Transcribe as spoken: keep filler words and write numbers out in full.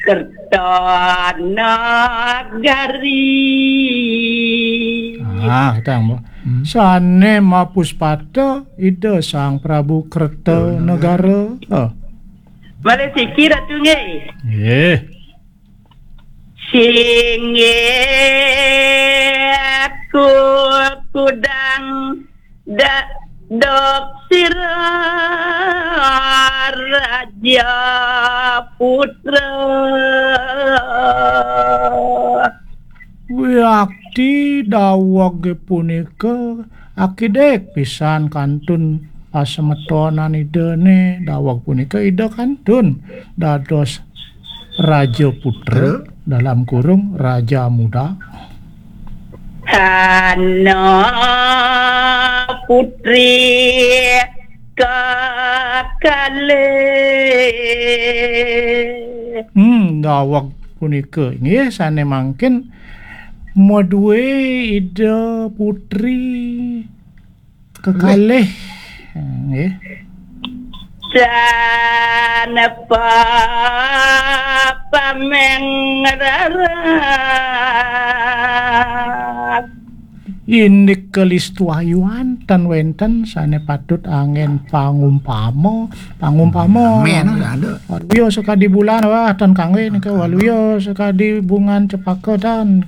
Kertanagari. Ah, tang, Mbok. Hmm. Sane mapuspata Ida Sang Prabu Kertanagara. Oh. Malih siki, Ratu, nggih. Nggih. Singgih kukudang da-, dok sira Raja Putra. Wiakti dawege punika akidik pisan kantun pasemetonan Idane. Daweg punika Ida kantun dados Raja Putra, dalam kurung Raja Muda. Ana putri kekalih. Hmm, daweg punika inggih sane mangkin madue Ida Putri kekalih. Nggih. Sanepa pameng rarat. Indik kalistuayuan tan wenten sane patut anggen pangumpama, pangumpama. Amin, ada. Waluya sakadi bulan, wah, tan kangge nika, waluya sakadi bungan cepaka tan.